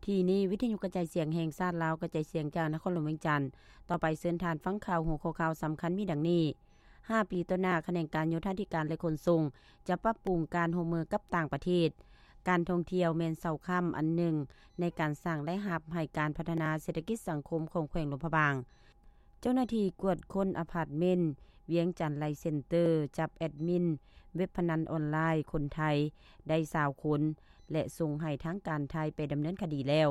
ທີ່ນີ້ ວິທະຍຸກະຈາຍສຽງແຫ່ງຊາດລາວ ກະຈາຍສຽງຈາກນະຄອນຫຼວງວຽງຈັນ. ຕໍ່ໄປເຊີນທ່ານຟັງຂ່າວ. ຫົວຂໍ້ຂ່າວສຳຄັນມີດັ່ງນີ້: ຫ້າປີຕໍ່ໜ້າ, ຂະແໜງການໂຍທາທິການ ແລະ ຂົນສົ່ງ ຈະປັບປຸງການຮ່ວມມືກັບຕ່າງປະເທດ. ການທ່ອງທ່ຽວແມ່ນເສົາຄ້ຳອັນໜຶ່ງໃນການສ້າງລາຍຮັບໃຫ້ການພັດທະນາເສດຖະກິດສັງຄົມຂອງແຂວງຫຼວງພະບາງ. ເຈົ້າໜ້າທີ່ກວດຄົ້ນອາພາດເມັນ ວຽງຈັນໄລເຊັນເຕີ ຈັບແອດມິນເວັບພະນັນອອນລາຍຄົນໄທໄດ້ຊາວຄົນ ແລະ ສົ່ງໃຫ້ທາງການໄທໄປດຳເນີນຄະດີແລ້ວ.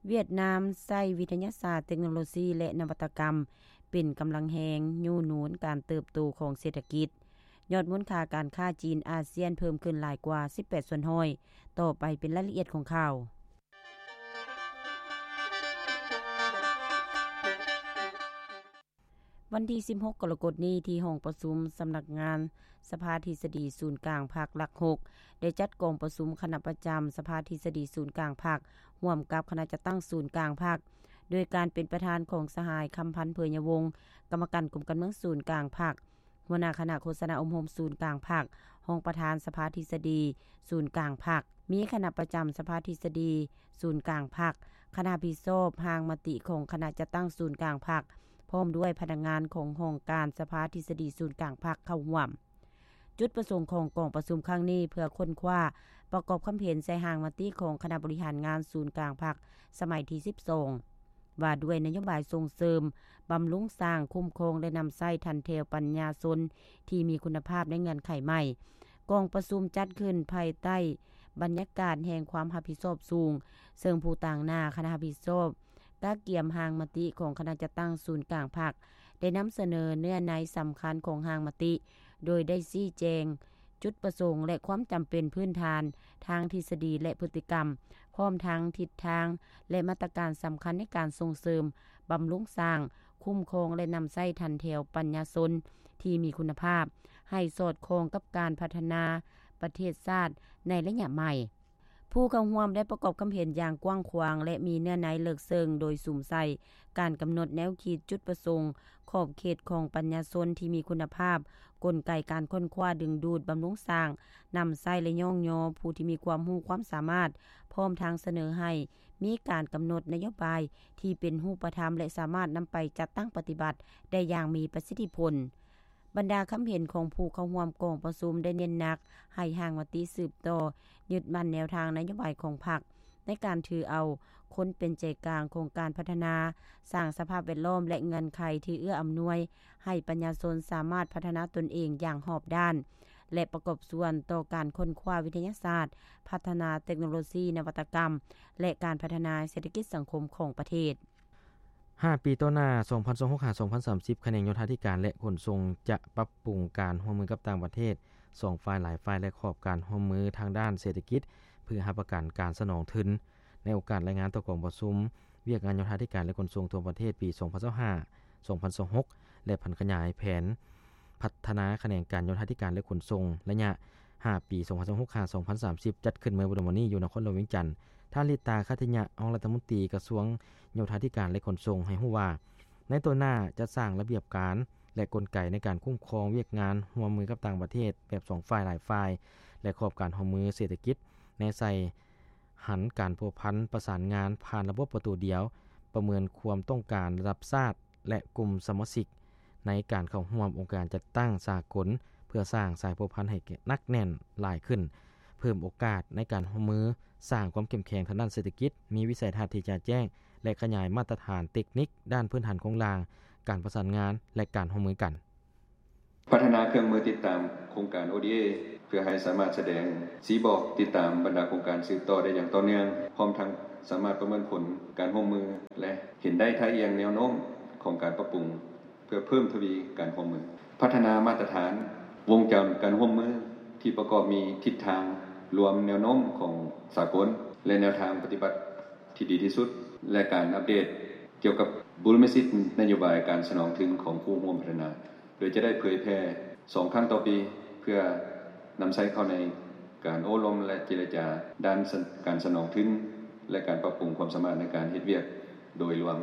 ຫວຽດນາມໃຊ້ວິທະຍາສາດ, ເຕັກໂນໂລຊີ ແລະ ນະວັດຕະກຳ ເປັນກຳລັງແຮງຍູ້ໜູນການເຕີບໂຕຂອງເສດຖະກິດ. ຍອດມູນຄ່າການຄ້າຈີນ-ອາຊຽນເພີ່ມຂຶ້ນຫຼາຍກວ່າສິບແປດສ່ວນຮ້ອຍ. ຕໍ່ໄປເປັນລາຍລະອຽດຂອງຂ່າວ. ວັນທີສິບຫົກ ກໍລະກົດນີ້ ທີ່ຫ້ອງປະຊຸມສຳນັກງານສະພາທິດສະດີສູນກາງພັກຫຼັກຫົກ ໄດ້ຈັດກອງປະຊຸມຄະນະປະຈຳສະພາທິດສະດີສູນກາງພັກ ຮ່ວມກັບຄະນະຈັດຕັ້ງສູນກາງພັກ ໂດຍການເປັນປະທານຂອງສະຫາຍ ຄຳພັນ ເຜີຍຍະວົງ ກຳມະການກົມການເມືອງສູນກາງພັກ, ຫົວໜ້າຄະນະໂຄສະນາອົບຮົມສູນກາງພັກ, ຮອງປະທານສະພາທິດສະດີສູນກາງພັກ, ມີຄະນະປະຈຳສະພາທິດສະດີສູນກາງພັກ, ຄະນະຮັບຜິດຊອບຮ່າງມະຕິຂອງຄະນະຈັດຕັ້ງສູນກາງພັກ ພ້ອມດ້ວຍພະນັກງານຂອງຫ້ອງການສະພາທິດສະດີສູນກາງພັກເຂົ້າຮ່ວມ. ຈຸດປະສົງຂອງກອງປະຊຸມຄັ້ງນີ້ ເພື່ອຄົ້ນຄວ້າປະກອບຄຳເຫັນໃສ່ຮ່າງມະຕິຂອງຄະນະບໍລິຫານງານສູນກາງພັກສະໄໝທີສິບສອງ ວ່າດ້ວຍນະໂຍບາຍສົ່ງເສີມ, ບຳລຸງສ້າງ, ຄຸ້ມຄອງ ແລະ ນຳໃຊ້ທັນແຖວປັນຍາຊົນທີ່ມີຄຸນນະພາບໃນເງື່ອນໄຂໃໝ່. ກອງປະຊຸມຈັດຂຶ້ນພາຍໃຕ້ບັນຍາກາດແຫ່ງຄວາມຮັບຜິດຊອບສູງ, ເຊິ່ງຜູ້ຕາງໜ້າຄະນະຮັບຜິດຊອບກະກຽມຮ່າງມະຕິຂອງຄະນະຈັດຕັ້ງສູນກາງພັກ ໄດ້ນຳສະເໜີເນື້ອໃນສຳຄັນຂອງຮ່າງມະຕິ, ໂດຍໄດ້ຊີ້ແຈງ ຈຸດປະສົງ ແລະ ຄວາມຈຳເປັນພື້ນຖານທາງທິດສະດີ ແລະ ພຶດຕິກຳ, ພ້ອມທັງທິດທາງ ແລະ ມາດຕະການສຳຄັນໃນການສົ່ງເສີມ, ບຳລຸງສ້າງ, ຄຸ້ມຄອງ ແລະ ນຳໃຊ້ທັນແຖວປັນຍາຊົນທີ່ມີຄຸນນະພາບ ໃຫ້ສອດຄ່ອງກັບການພັດທະນາປະເທດຊາດໃນໄລຍະໃໝ່. ຜູ້ເຂົ້າຮ່ວມໄດ້ປະກອບຄຳເຫັນຢ່າງກວ້າງຂວາງ ແລະ ມີເນື້ອໃນເລິກເຊິ່ງ ໂດຍສຸມໃສ່ການກຳນົດແນວຄິດ, ຈຸດປະສົງ, ຂອບເຂດຂອງປັນຍາຊົນທີ່ມີຄຸນນະພາບ, ກົນໄກການຄົ້ນຄວ້າດຶງດູດ, ບຳລຸງສ້າງ, ນຳໃຊ້ ແລະ ຍ້ອງຍໍຜູ້ທີ່ມີຄວາມຮູ້ຄວາມສາມາດ, ພ້ອມທັງສະເໜີໃຫ້ມີການກຳນົດນະໂຍບາຍທີ່ເປັນຮູບປະທຳ ແລະ ສາມາດນຳໄປຈັດຕັ້ງປະຕິບັດໄດ້ຢ່າງມີປະສິດທິຜົນ. ບັນດາຄຳເຫັນຂອງຜູ້ເຂົ້າຮ່ວມກອງປະຊຸມໄດ້ເນັ້ນໜັກໃຫ້ຮ່າງມະຕິສືບຕໍ່ຍຶດໝັ້ນແນວທາງນະໂຍບາຍຂອງພັກ ໃນການຖືເອົາຄົນເປັນໃຈກາງຂອງການພັດທະນາ, ສ້າງສະພາບແວດລ້ອມ ແລະ ເງື່ອນໄຂທີ່ເອື້ອອຳນວຍໃຫ້ປະຊາຊົນສາມາດພັດທະນາຕົນເອງຢ່າງຮອບດ້ານ ແລະ ປະກອບສ່ວນຕໍ່ການຄົ້ນຄວ້າວິທະຍາສາດ, ພັດທະນາເຕັກໂນໂລຊີ, ນະວັດຕະກຳ ແລະ ການພັດທະນາເສດຖະກິດສັງຄົມຂອງປະເທດ. ຫ້າປີຕໍ່ໜ້າ ສອງພັນຊາວຫົກ ຫາ ສອງພັນສາມສິບ ຂະແໜງໂຍທາທິການ ແລະ ຂົນສົ່ງ ຈະປັບປຸງການຮ່ວມມືກັບຕ່າງປະເທດ ສອງຝ່າຍຫຼາຍຝ່າຍ ແລະ ຂອບການຮ່ວມມືທາງດ້ານເສດຖະກິດ ເພື່ອຮັບປະກັນການສະໜອງທຶນ. ໃນໂອກາດລາຍງານຕໍ່ກອງປະຊຸມວຽກງານໂຍທາທິການ ແລະ ຂົນສົ່ງທົ່ວປະເທດ ປີສອງພັນຊາວຫ້າ ສອງພັນຊາວຫົກ ແລະ ຜັນຂະຫຍາຍແຜນພັດທະນາຂະແໜງການໂຍທາທິການ ແລະ ຂົນສົ່ງ ໄລຍະຫ້າປີ ສອງພັນຊາວຫົກ ຫາ ສອງພັນສາມສິບ ຈັດຂຶ້ນເມື່ອບໍ່ດົນມານີ້ຢູ່ນະຄອນຫຼວງວຽງຈັນ, ທ່ານ ລິດຕາ ຄັດທະຍະ ຮອງລັດຖະມົນຕີກະຊວງໂຍທາທິການ ແລະ ຂົນສົ່ງ ໃຫ້ຮູ້ວ່າ ໃນຕໍ່ໜ້າຈະສ້າງລະບຽບການ ແລະ ກົນໄກໃນການຄຸ້ມຄອງວຽກງານຮ່ວມມືກັບຕ່າງປະເທດແບບສອງຝ່າຍຫຼາຍຝ່າຍ ແລະ ຂອບການຮ່ວມມືເສດຖະກິດ ແນໃສ່ຫັນການພົວພັນປະສານງານຜ່ານລະບົບປະຕູດຽວ, ປະເມີນຄວາມຕ້ອງການລະດັບຊາດ ແລະ ກຸ່ມສະມາຊິກໃນການເຂົ້າຮ່ວມອົງການຈັດຕັ້ງສາກົນ ເພື່ອສ້າງສາຍພົວພັນໃຫ້ໜັກແໜ້ນຫຼາຍຂຶ້ນ, ເພີ່ມໂອກາດໃນການຮ່ວມມື, ສ້າງຄວາມເຂັ້ມແຂງທາງດ້ານເສດຖະກິດ, ມີວິໄສທັດທີ່ຈະແຈ້ງ ແລະ ຂະຫຍາຍມາດຕະຖານເຕັກນິກດ້ານພື້ນຖານໂຄງລ່າງ, ການປະສານງານ ແລະ ການຮ່ວມມືກັນ. ພັດທະນາເຄື່ອງມືຕິດຕາມໂຄງການ ໂອ ດີ ເອ ເພື່ອໃຫ້ສາມາດສະແດງຊີ້ບອກຕິດຕາມບັນດາໂຄງການສືບຕໍ່ໄດ້ຢ່າງຕໍ່ເນື່ອງ, ພ້ອມທັງສາມາດປະເມີນຜົນການຮ່ວມມື ແລະ ເຫັນໄດ້ທ່າອ່ຽງແນວໂນ້ມຂອງການປັບປຸງ ເພື່ອເພີ່ມທະວີການຮ່ວມມື. ພັດທະນາມາດຕະຖານວົງຈອນການຮ່ວມມືທີ່ປະກອບມີທິດທາງລວມແນວໂນ້ມຂອງສາກົນ ແລະ ແນວທາງປະຕິບັດທີ່ດີທີ່ສຸດ ແລະ ການອັບເດດກ່ຽວກັບບູລິມະສິດນະໂຍບາຍການສະໜອງທຶນຂອງຄູ່ຮ່ວມພັດທະນາ, ໂດຍຈະໄດ້ເຜີຍແຜ່ສອງຄັ້ງຕໍ່ປີ ເພື່ອນຳໃຊ້ເຂົ້າໃນການໂອ້ລົມ ແລະ ເຈລະຈາດ້ານການສະໜອງທຶນ ແລະ ການປັບປຸງຄວາມສາມາດໃນການເຮັດວຽກໂດຍລວມ.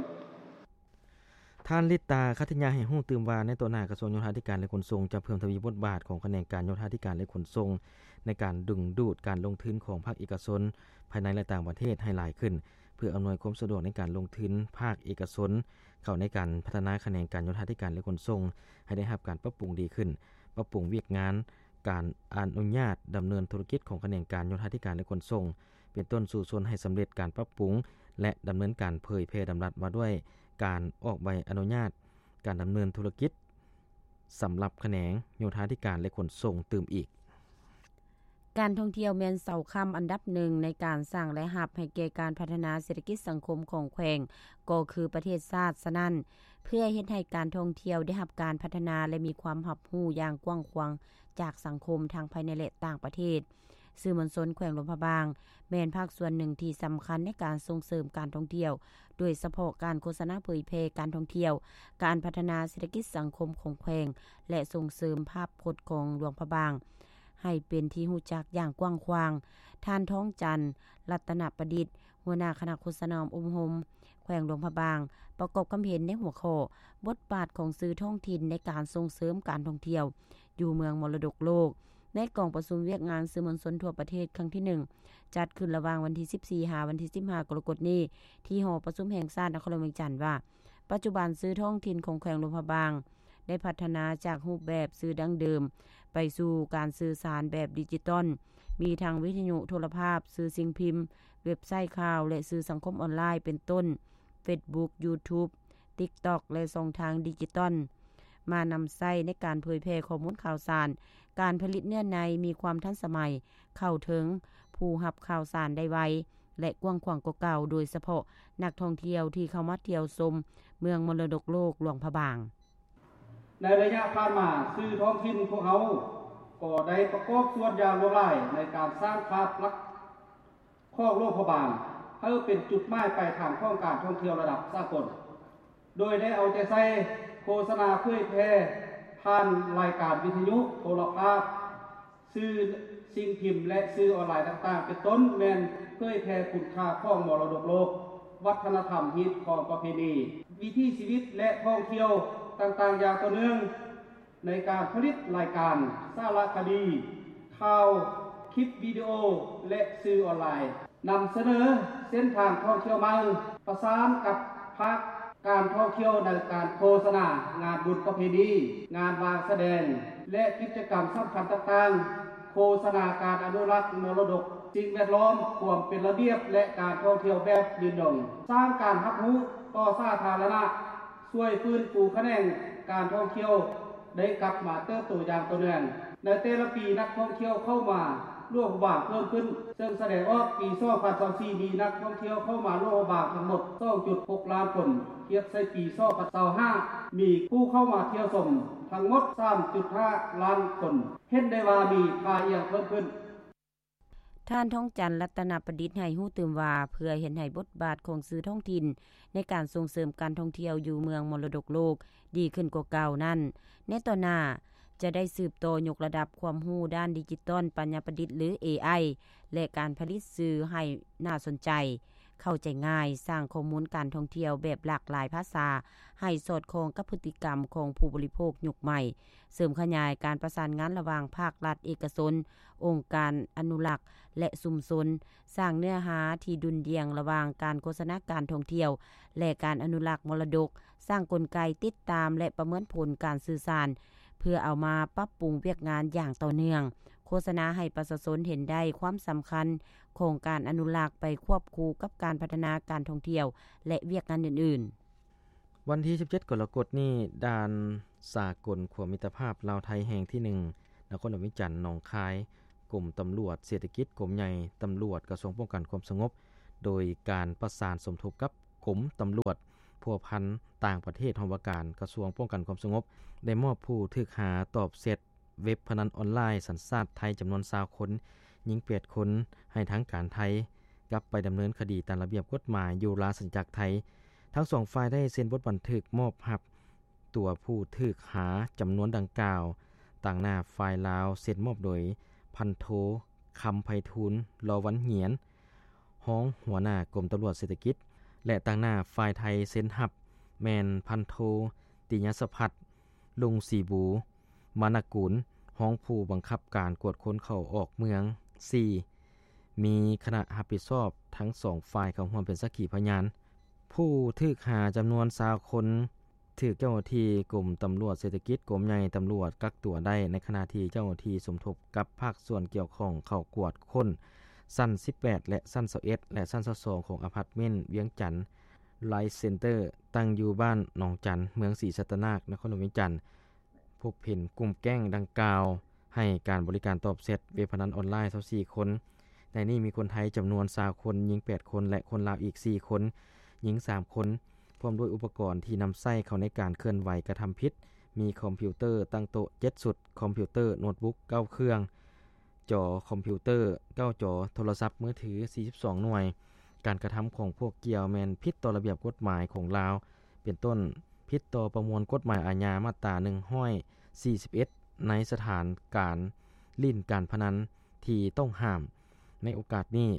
ທ່ານ ລິດຕາ ຄັດທະຍາ ໃຫ້ຮູ້ຕື່ມວ່າ ໃນຕໍ່ໜ້າກະຊວງໂຍທາທິການ ແລະ ຂົນສົ່ງ ຈະເພີ່ມທະວີບົດບາດຂອງຂະແໜງການໂຍທາທິການ ແລະ ຂົນສົ່ງ ໃນການດຶງດູດການລົງທຶນຂອງພາກເອກະຊົນພາຍໃນ ແລະ ຕ່າງປະເທດໃຫ້ຫຼາຍຂຶ້ນ, ພື່ອອຳນວຍຄວາມສະດວກໃນການລົງທຶນພາກເອກະຊົນ ເຂົ້າໃນການພັດທະນາຂະແໜງການໂຍທາທິການ ແລະ ຂົນສົ່ງ ໃຫ້ໄດ້ຮັບການປັບປຸງດີຂຶ້ນ, ປັບປຸງວຽກງານການອະນຸຍາດດຳເນີນທຸລະກິດຂອງຂະແໜງການໂຍທາທິການ ແລະ ຂົນສົ່ງ ເປັນຕົ້ນ ສູ້ຊົນໃຫ້ສຳເລັດການປັບປຸງ ແລະ ດຳເນີນການເຜີຍແຜ່ດຳລັດວ່າດ້ວຍການອອກໃບອະນຸຍາດການດຳເນີນທຸລະກິດ ສຳລັບຂະແໜງໂຍທາທິການ ແລະ ຂົນສົ່ງຕື່ມອີກ. ການທ່ອງທ່ຽວແມ່ນເສົາຄ້ຳອັນດັບໜຶ່ງໃນການສ້າງລາຍຮັບໃຫ້ແກ່ການພັດທະນາເສດຖະກິດສັງຄົມຂອງແຂວງ ກໍຄືປະເທດຊາດ. ສະນັ້ນ, ເພື່ອເຮັດໃຫ້ການທ່ອງທ່ຽວໄດ້ຮັບການພັດທະນາ ແລະ ມີຄວາມຮັບຮູ້ຢ່າງກວ້າງຂວາງຈາກສັງຄົມທັງພາຍໃນ ແລະ ຕ່າງປະເທດ, ສື່ມວນຊົນແຂວງຫຼວງພະບາງ ແມ່ນພາກສ່ວນໜຶ່ງທີ່ສຳຄັນໃນການສົ່ງເສີມການທ່ອງທ່ຽວ, ໂດຍສະເພາະການໂຄສະນາເຜີຍແຜ່ການທ່ອງທ່ຽວ, ການພັດທະນາເສດຖະກິດສັງຄົມຂອງແຂວງ ແລະ ສົ່ງເສີມພາບພົດຂອງຫຼວງພະບາງ ໃຫ້ເປັນທີ່ຮູ້ຈັກຢ່າງກວ້າງຂວາງ. ທ່ານ ທອງຈັນ ລັດຕະນະປະດິດ ຫົວໜ້າຄະນະໂຄສະນາອົບຮົມແຂວງຫຼວງພະບາງ ປະກອບຄຳເຫັນໃນຫົວຂໍ້ ບົດບາດຂອງສື່ທ້ອງຖິ່ນໃນການສົ່ງເສີມການທ່ອງທ່ຽວຢູ່ເມືອງມໍລະດົກໂລກ ໃນກອງປະຊຸມວຽກງານສື່ມວນຊົນທົ່ວປະເທດຄັ້ງທີໜຶ່ງ ຈັດຂຶ້ນລະຫວ່າງວັນທີສິບສີ່ ຫາວັນທີສິບຫ້າ ກໍລະກົດນີ້ ທີ່ຫໍປະຊຸມແຫ່ງຊາດນະຄອນຫຼວງວຽງຈັນວ່າ ປັດຈຸບັນສື່ທ້ອງຖິ່ນຂອງແຂວງຫຼວງພະບາງ ໄດ້ພັດທະນາຈາກຮູບແບບສື່ດັ້ງເດີມ ໄປສູ່ການສື່ສານແບບດິຈິຕອນ, ມີທັງວິທະຍຸ, ໂທລະພາບ, ສື່ສິ່ງພິມ, ເວັບໄຊຂ່າວ ແລະ ສື່ສັງຄົມອອນລາຍ ເປັນຕົ້ນ ເຟສບຸກ, ຢູທູບ, ຕິກຕັອກ ແລະ ຊ່ອງທາງດິຈິຕອນ ມານຳໃຊ້ໃນການເຜີຍແຜ່ຂໍ້ມູນຂ່າວສານ. ການຜະລິດເນື້ອໃນມີຄວາມທັນສະໄໝ, ເຂົ້າເຖິງຜູ້ຮັບຂ່າວສານໄດ້ໄວ ແລະ ກວ້າງຂວາງກວ່າເກົ່າ, ໂດຍສະເພາະນັກທ່ອງທ່ຽວທີ່ເຂົ້າມາທ່ຽວຊົມເມືອງມໍລະດົກໂລກຫຼວງພະບາງ. ໃນໄລຍະຜ່ານມາ, ສື່ທ້ອງຖິ່ນພວກເຮົາກໍໄດ້ປະກອບສ່ວນຢ່າງຫຼວງຫຼາຍໃນການສ້າງພາບລັກຂອງຫຼວງພະບາງ ໃຫ້ເປັນຈຸດໝາຍປາຍທາງຂອງການທ່ອງທ່ຽວລະດັບສາກົນ, ໂດຍໄດ້ເອົາໃຈໃສ່ໂຄສະນາເຜີຍແຜ່ຜ່ານລາຍການວິທະຍຸ, ໂທລະພາບ, ສື່ສິ່ງພິມ ແລະ ສື່ອອນລາຍຕ່າງໆ ເປັນຕົ້ນແມ່ນເຜີຍແຜ່ຄຸນຄ່າຂອງມໍລະດົກໂລກ, ວັດທະນະທຳ, ຮີດຄອງປະເພນີ, ວິຖີຊີວິດ ແລະ ທ່ອງທ່ຽວຕ່າງໆຢ່າງຕໍ່ເນື່ອງ ໃນການຜະລິດລາຍການສາລະຄະດີ, ຂ່າວ, ຄລິບວິດີໂອ ແລະ ສື່ອອນລາຍ, ນຳສະເໜີເສັ້ນທາງທ່ອງທ່ຽວໃໝ່, ປະສານກັບພາກການທ່ອງທ່ຽວໃນການໂຄສະນາງານບຸນປະເພນີ, ງານວາງສະແດງ ແລະ ກິດຈະກຳສຳຄັນຕ່າງໆ, ໂຄສະນາການອະນຸລັກມໍລະດົກສິ່ງແວດລ້ອມ, ຄວາມເປັນລະບຽບ ແລະ ການທ່ອງທ່ຽວແບບຍືນຍົງ, ສ້າງການຮັບຮູ້ຕໍ່ສາທາລະນະ, ຊ່ວຍຟື້ນຟູຂະແໜງການທ່ອງທ່ຽວ ໄດ້ກັບມາເຕີບໂຕຢ່າງຕໍ່ເນື່ອງ. ໃນແຕ່ລະປີ, ນັກທ່ອງທ່ຽວເຂົ້າມາຫຼວງພະບາງເພີ່ມຂຶ້ນ, ເຊິ່ງສະແດງອອກປີສອງພັນຊາວສີ່ ມີນັກທ່ອງທ່ຽວເຂົ້າມາຫຼວງພະບາງທັງໝົດສອງຈຸດຫົກລ້ານຄົນ, ທຽບໃສ່ປີສອງພັນຊາວຫ້າ ມີຜູ້ເຂົ້າມາທ່ຽວຊົມທັງໝົດສາມຈຸດຫ້າລ້ານຄົນ, ເຫັນໄດ້ວ່າມີທ່າຢ່ຽງເພີ່ມຂຶ້ນ. ທ່ານ ທອງຈັນ ລັດຕະນະປະດິດ ໃຫ້ຮູ້ຕື່ມວ່າ ເພື່ອເຮັດໃຫ້ບົດບາດຂອງສື່ທ້ອງຖິ່ນໃນການສົ່ງເສີມການທ່ອງທ່ຽວຢູ່ເມືອງມໍລະດົກໂລກດີຂຶ້ນກວ່າເກົ່ານັ້ນ, ໃນຕໍ່ໜ້າຈະໄດ້ສືບຕໍ່ຍົກລະດັບຄວາມຮູ້ດ້ານດິຈິຕອນ, ປັນຍາປະດິດ ຫຼື ເອໄອ ແລະ ການຜະລິດສື່ໃຫ້ໜ້າສົນໃຈ, ເຂົ້າໃຈງ່າຍ, ສ້າງຂໍ້ມູນການທ່ອງທ່ຽວແບບຫຼາກຫຼາຍພາສາ ໃຫ້ສອດຄ່ອງກັບພຶດຕິກຳຂອງຜູ້ບໍລິໂພກຍຸກໃໝ່, ເສີມຂະຫຍາຍການປະສານງານລະຫວ່າງພາກລັດ, ເອກະຊົນ, ອົງການອະນຸລັກ ແລະ ຊຸມຊົນ, ສ້າງເນື້ອຫາທີ່ດຸ່ນດ່ຽງລະຫວ່າງການໂຄສະນາການທ່ອງທ່ຽວ ແລະ ການອະນຸລັກມໍລະດົກ, ສ້າງກົນໄກຕິດຕາມ ແລະ ປະເມີນຜົນການສື່ສານ ເພື່ອເອົາມາປັບປຸງວຽກງານຢ່າງຕໍ່ເນື່ອງ, ໂຄສະນາໃຫ້ປະຊາຊົນເຫັນໄດ້ຄວາມສຳຄັນຂອງການອະນຸລັກໄປຄວບຄູ່ກັບການພັດທະນາການທ່ອງທ່ຽວ ແລະ ວຽກງານອື່ນໆ. ວັນທີສິບເຈັດ ກໍລະກົດນີ້, ດ່ານສາກົນຂົວມິດຕະພາບລາວໄທແຫ່ງທີໜຶ່ງ ນະຄອນຫຼວງວຽງຈັນ ໜອງຄາຍ, ກົມຕຳຫຼວດເສດຖະກິດ, ກົມໃຫຍ່ຕຳຫຼວດ, ກະຊວງປ້ອງກັນຄວາມສະຫງົບ, ໂດຍການປະສານສົມທົບກັບກົມຕຳຫຼວດພົວພັນຕ່າງປະເທດ ຫ້ອງວ່າການກະຊວງປ້ອງກັນຄວາມສະຫງົບ ໄດ້ມອບຜູ້ຖືກຫາຕອບແຊັດ ເວັບພະນັນອອນລາຍສັນຊາດໄທຈຳນວນຊາວຄົນ, ຍິງແປດຄົນ, ໃຫ້ທາງການໄທກັບໄປດຳເນີນຄະດີຕາມລະບຽບກົດໝາຍຢູ່ລາຊະອານາຈັກໄທ. ທັງສອງຝ່າຍໄດ້ເຊັນບົດບັນທຶກມອບຮັບຕົວຜູ້ຖືກຫາຈຳນວນດັ່ງກ່າວ, ຕາງໜ້າຝ່າຍລາວເຊັນມອບໂດຍພັນໂທ ຄຳໄພທູນ ລໍວັນຫງຽນ ຮອງຫົວໜ້າກົມຕຳຫຼວດເສດຖະກິດ ແລະ ຕາງໜ້າຝ່າຍໄທເຊັນຮັບແມ່ນພັນໂທ ຕິຍະສະພັດ ລຸງສີບູ ມານະກຸນ ຮອງຜູ້ບັງຄັບການກວດຄົນເຂົ້າອອກເມືອງ. ສີ່ ມີຄະນະຮັບຜິດຊອບທັງສອງຝ່າຍເຂົ້າຮ່ວມເປັນສັກຂີພະຍານ. ຜູ້ຖືກຫາຈຳນວນຊາວຄົນ ຖືກເຈົ້າໜ້າທີ່ກົມຕຳຫຼວດເສດຖະກິດ, ກົມໃຫຍ່ຕຳຫຼວດ ກັກຕົວໄດ້, ໃນຂະນະທີ່ເຈົ້າໜ້າທີ່ສົມທົບກັບພາກສ່ວນກ່ຽວຂ້ອງເຂົ້າກວດຄົ້ນຊັ້ນສິບແປດ ແລະ ຊັ້ນຊາວເອັດ ແລະ ຊັ້ນຊາວສອງ ຂອງອາພາດເມັນວຽງຈັນ Light Center ຕັ້ງຢູ່ບ້ານໜອງຈັນ, ເມືອງສີສັດຕະນາກ, ນະຄອນຫຼວງວຽງຈັນ. ພົບເຫັນກຸ່ມແກ້ງດັ່ງກ່າວໃຫ້ການບໍລິການຕອບແຊັດເວັບພະນັນອອນລາຍຊາວສີ່ຄົນ. ໃນນີ້ມີຄົນໄທຈຳນວນຊາວຄົນ, ຍິງແປດຄົນ ແລະ ຄົນລາວອີກສີ່ຄົນ, ຍິງສາມຄົນ, ພ້ອມດ້ວຍອຸປະກອນທີ່ນຳໃຊ້ເຂົ້າໃນການເຄື່ອນໄຫວກະທຳຜິດ, ມີຄອມພິວເຕີຕັ້ງໂຕະເຈັດຊຸດ, ຄອມພິວເຕີໂນດບຸກເກົ້າເຄື່ອງ, ຈໍຄອມພິວເຕີເກົ້າຈໍ, ໂທລະສັບມືຖືສີ່ສິບສອງໜ່ວຍ. ການກະທຳຂອງພວກກ່ຽວແມ່ນຜິດຕໍ່ລະບຽບກົດໝາຍຂອງລາວ, ເປັນຕົ້ນ ຜິດຕໍ່ປະມວນກົດໝາຍອາຍາມາດຕາໜຶ່ງຮ້ອຍສີ່ສິບເອັດ ໃນສະຖານການຫຼິ້ນການພະນັນທີ່ຕ້ອງຫ້າມ. ໃນໂອກາດນີ້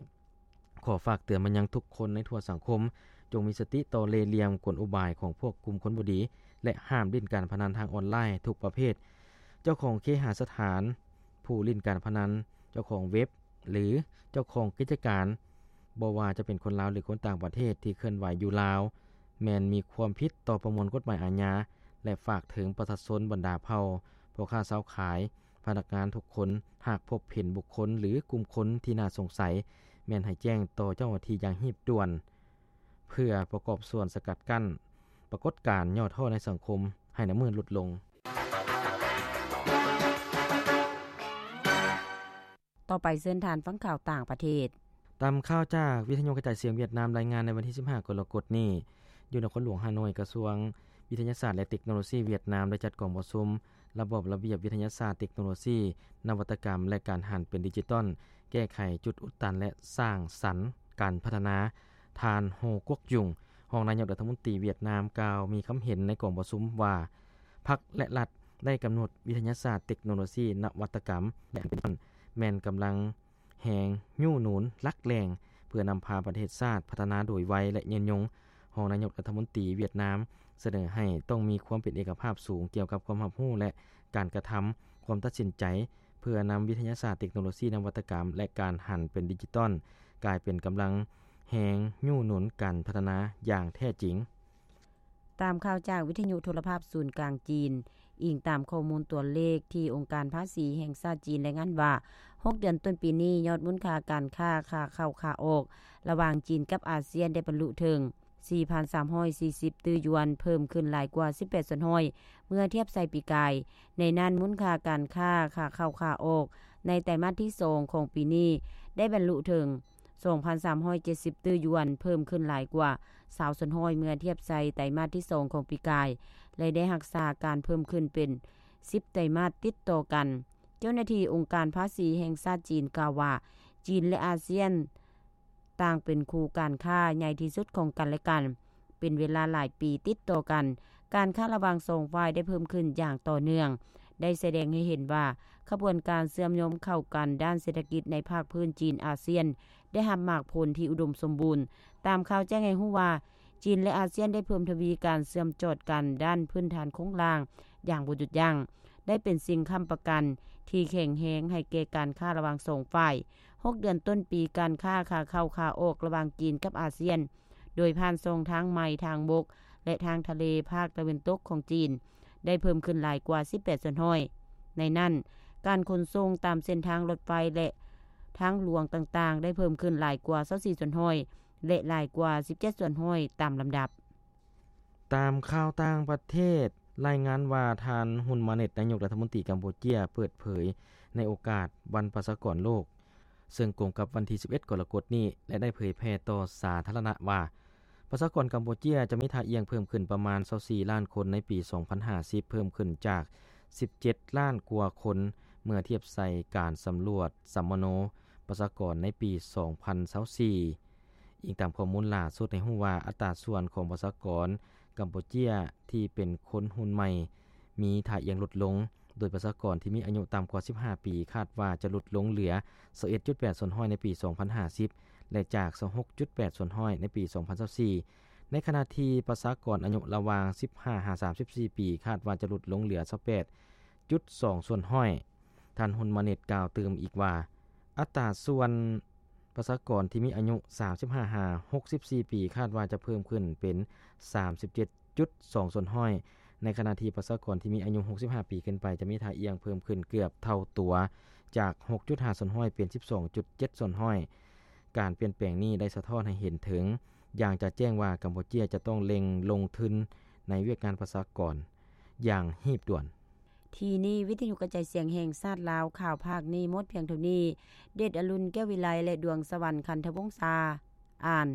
ຂໍຝາກເຕືອນມາຍັງທຸກຄົນໃນທົ່ວສັງຄົມ, ຈົ່ງມີສະຕິຕໍ່ເລ່ຫຼ່ຽມກົນອຸບາຍຂອງພວກກຸ່ມຄົນບໍ່ດີ ແລະ ຫ້າມຫຼິ້ນການພະນັນທາງອອນລາຍທຸກປະເພດ. ເຈົ້າຂອງເຄຫະສະຖານ, ຜູ້ຫຼິ້ນການພະນັນ, ເຈົ້າຂອງເວັບ ຫຼື ເຈົ້າຂອງກິດຈະການ, ບໍ່ວ່າຈະເປັນຄົນລາວ ຫຼື ຄົນຕ່າງປະເທດທີ່ເຄື່ອນໄຫວຢູ່ລາວ, ແມ່ນມີຄວາມຜິດຕໍ່ປະມວນກົດໝາຍອາຍາ ແລະ ຝາກເຖິງປະຊາຊົນບັນດາເຜົ່າ, ພໍ່ຄ້າຊາວຂາຍ, ພະນັກງານທຸກຄົນ, ຫາກພົບເຫັນບຸກຄົນ ຫຼື ກຸ່ມຄົນທີ່ໜ້າສົງໄສ, ແມ່ນໃຫ້ແຈ້ງຕໍ່ເຈົ້າໜ້າທີ່ຢ່າງຮີບດ່ວນ ເພື່ອປະກອບສ່ວນສະກັດກັ້ນປາກົດການຫຍໍ້ທໍ້ໃນສັງຄົມໃຫ້ໜ້າມືນຫຼຸດລົງ. ຕໍ່ໄປເຊີນທ່ານຟັງຂ່າວຕ່າງປະເທດ. ຕາມຂ່າວຈາກວິທະຍຸກະຈາຍສຽງຫວຽດນາມລາຍງານໃນວັນທີສິບຫ້າ ກໍລະກົດນີ້, ຢູ່ນະຄອນຫຼວງຮ່າໂນ້ຍ, ກະຊວງວິທະຍາສາດ ແລະ ເຕັກໂນໂລຊີຫວຽດນາມໄດ້ຈັດກອງປະຊຸມລະບອບລະບຽບວິທະຍາສາດ, ເຕັກໂນໂລຊີ, ນະວັດຕະກຳ ແລະ ການຫັນເປັນດິຈິຕອນ, ແກ້ໄຂຈຸດອຸດຕັນ ແລະ ສ້າງສັນການພັດທະນາ. ທ່ານ ໂຮ ກວກຍຸງ, ຮອງນາຍົກລັດຖະມົນຕີຫວຽດນາມ ກ່າວມີຄຳເຫັນໃນກອງປະຊຸມວ່າ ພັກ ແລະ ລັດໄດ້ກຳນົດວິທະຍາສາດ, ເຕັກໂນໂລຊີ, ນະວັດຕະກຳ ແລະ ອັນເປັນຕົ້ນ ແມ່ນກຳລັງແຮງຍູ້ໜູນຫຼັກແຫຼ່ງ ເພື່ອນຳພາປະເທດຊາດພັດທະນາໂດຍໄວ ແລະ ຍືນຍົງ. ຮອງນາຍົກລັດຖະມົນຕີຫວຽດນາມສະເໜີໃຫ້ຕ້ອງມີຄວາມເປັນເອກະພາບສູງກ່ຽວກັບຄວາມຮັບຮູ້ ແລະ ການກະທຳ, ຄວາມຕັດສິນໃຈ ເພື່ອນຳວິທະຍາສາດ, ເຕັກໂນໂລຊີ, ນະວັດຕະກຳ ແລະ ການຫັນເປັນດິຈິຕອນ ກາຍເປັນກຳລັງແຮງຍູ້ໜູນການພັດທະນາຢ່າງແທ້ຈິງ. ຕາມຂ່າວຈາກວິທະຍຸໂທລະພາບສູນກາງຈີນ, ອີງຕາມຂໍ້ມູນຕົວເລກທີ່ອົງການພາສີແຫ່ງຊາດຈີນລາຍງານວ່າ, ຫົກເດືອນຕົ້ນປີນີ້, ຍອດມູນຄ່າການຄ້າຂາເຂົ້າຂາອອກລະຫວ່າງຈີນກັບອາຊຽນໄດ້ບັນລຸເຖິງ ສີ່ພັນສາມຮ້ອຍສີ່ສິບຕື້ຢວນ, ເພີ່ມຂຶ້ນຫຼາຍກວ່າສິບແປດສ່ວນຮ້ອຍ ເມື່ອທຽບໃສ່ປີກາຍ. ໃນນັ້ນ, ມູນຄ່າການຄ້າຂາເຂົ້າຂາອອກໃນໄຕມາດທີສອງຂອງປີນີ້ ໄດ້ບັນລຸເຖິງ ສອງພັນສາມຮ້ອຍເຈັດສິບຕື້ຢວນ, ເພີ່ມຂຶ້ນຫຼາຍກວ່າຊາວສ່ວນຮ້ອຍ ເມື່ອທຽບໃສ່ໄຕມາດທີສອງຂອງປີກາຍ ແລະ ໄດ້ຮັກສາການເພີ່ມຂຶ້ນເປັນສິບໄຕມາດຕິດຕໍ່ກັນ. ເຈົ້າໜ້າທີ່ອົງການພາສີແຫ່ງຊາດຈີນກ່າວວ່າ, ຈີນ ແລະ ອາຊຽນ ຕ່າງເປັນຄູ່ການຄ້າໃຫຍ່ທີ່ສຸດຂອງກັນ ແລະ ກັນ ເປັນເວລາຫຼາຍປີຕິດຕໍ່ກັນ. ການຄ້າລະຫວ່າງສອງຝ່າຍໄດ້ເພີ່ມຂຶ້ນຢ່າງຕໍ່ເນື່ອງ, ໄດ້ສະແດງໃຫ້ເຫັນວ່າ ຂະບວນການເຊື່ອມໂຍງເຂົ້າກັນດ້ານເສດຖະກິດໃນພາກພື້ນຈີນອາຊຽນ ໄດ້ຮັບໝາກຜົນທີ່ອຸດົມສົມບູນ. ຕາມຂ່າວແຈ້ງໃຫ້ຮູ້ວ່າ, ຈີນ ແລະ ອາຊຽນໄດ້ເພີ່ມທະວີການເຊື່ອມຈອດກັນດ້ານພື້ນຖານໂຄງລ່າງຢ່າງບໍ່ຢຸດຢັ້ງ, ໄດ້ເປັນສິ່ງຄ້ຳປະກັນທີ່ແຂງແຮງໃຫ້ແກ່ການຄ້າລະຫວ່າງສອງຝ່າຍ. ຫົກເດືອນຕົ້ນປີ, ການຄ້າຂາເຂົ້າຂາອອກລະຫວ່າງຈີນກັບອາຊຽນ ໂດຍຜ່ານຊ່ອງທາງໃໝ່, ທາງບົກ ແລະ ທາງທະເລ ພາກຕາເວັນຕົກຂອງຈີນ ໄດ້ເພີ່ມຂຶ້ນຫຼາຍກວ່າສິບແປດສ່ວນຮ້ອຍ. ໃນນັ້ນ, ການຂົນສົ່ງຕາມເສັ້ນທາງລົດໄຟ ແລະ ທາງຫຼວງຕ່າງໆ ໄດ້ເພີ່ມຂຶ້ນຫຼາຍກວ່າຊາວສີ່ສ່ວນຮ້ອຍ ແລະ ຫຼາຍກວ່າສິບເຈັດສ່ວນຮ້ອຍຕາມລຳດັບ. ຕາມຂ່າວຕ່າງປະເທດລາຍງານວ່າ, ທ່ານ ຮຸນ ມາເນັດ, ນາຍົກລັດຖະມົນຕີກຳປູເຈຍ ເປີດເຜີຍໃນໂອກາດວັນປະຊາກອນໂລກ, ເຊິ່ງກົງກັບວັນທີສິບເອັດ ກໍລະກົດນີ້ ແລະ ໄດ້ເຜີຍແຜ່ຕໍ່ສາທາລະນະວ່າ, ປະຊາກອນກຳປູເຈຍຈະມີທ່າອ່ຽງເພີ່ມຂຶ້ນປະມານຊາວສີ່ລ້ານຄົນໃນປີສອງພັນຫ້າສິບ, ເພີ່ມຂຶ້ນຈາກສິບເຈັດລ້ານກວ່າຄົນ ເມື່ອທຽບໃສ່ການສຳຫຼວດສຳມະໂນປະຊາກອນໃນປີສອງພັນຊາວສີ່. ອີງຕາມຂໍ້ມູນຫຼ້າສຸດໃຫ້ຮູ້ວ່າ ອັດຕາສ່ວນຂອງປະຊາກອນກຳປູເຈຍທີ່ເປັນຄົນຮຸ່ນໃໝ່ ມີທ່າອ່ຽງຫຼຸດລົງ, ໂດຍປະຊາກອນທີ່ມີອາຍຸຕ່ຳກວ່າສິບຫ້າປີ ຄາດວ່າຈະຫຼຸດລົງເຫຼືອຊາວເອັດຈຸດແປດສ່ວນຮ້ອຍໃນປີສອງພັນຫ້າສິບ ແລະ ຈາກຊາວຫົກຈຸດແປດສ່ວນຮ້ອຍໃນປີສອງພັນຊາວສີ່, ໃນຂະນະທີ່ປະຊາກອນອາຍຸລະຫວ່າງສິບຫ້າຫາສາມສິບສີ່ປີ ຄາດວ່າຈະຫຼຸດລົງເຫຼືອຊາວແປດຈຸດສອງສ່ວນຮ້ອຍ. ທ່ານ ຮຸນ ມາເນັດ ກ່າວຕື່ມອີກວ່າ, ອັດຕາສ່ວນ ປະຊາກອນທີ່ມີອາຍຸສາມສິບຫ້າຫາຫົກສິບສີ່ປີ ຄາດວ່າຈະເພີ່ມຂຶ້ນເປັນສາມສິບເຈັດຈຸດສອງສ່ວນຮ້ອຍ ໃນຂະນະທີ່ປະຊາກອນທີ່ມີອາຍຸຫົກສິບຫ້າປີຂຶ້ນໄປ ຈະມີທ່າອ່ຽງເພີ່ມຂຶ້ນເກືອບເທົ່າຕົວ ຈາກຫົກຈຸດຫ້າສ່ວນຮ້ອຍເປັນສິບສອງຈຸດເຈັດສ່ວນຮ້ອຍ. ການປ່ຽນແປງນີ້ໄດ້ສະທ້ອນໃຫ້ເຫັນເຖິງຢ່າງຈະແຈ້ງວ່າ ກຳປູເຈຍຈະຕ້ອງເລັ່ງລົງທຶນໃນວຽກງານປະຊາກອນຢ່າງຮີບດ່ວນ. ທີ່ນີ້ ວິທະຍຸກະຈາຍສຽງແຫ່ງຊາດລາວ ຂ່າວພາກນີ້ໝົດພຽງເທົ່ານີ້. ເດດອະລຸນ ແກ້ວວິໄລ ແລະ ດວງສະຫວັນ ຄັນທະວົງສາ ອ່ານ.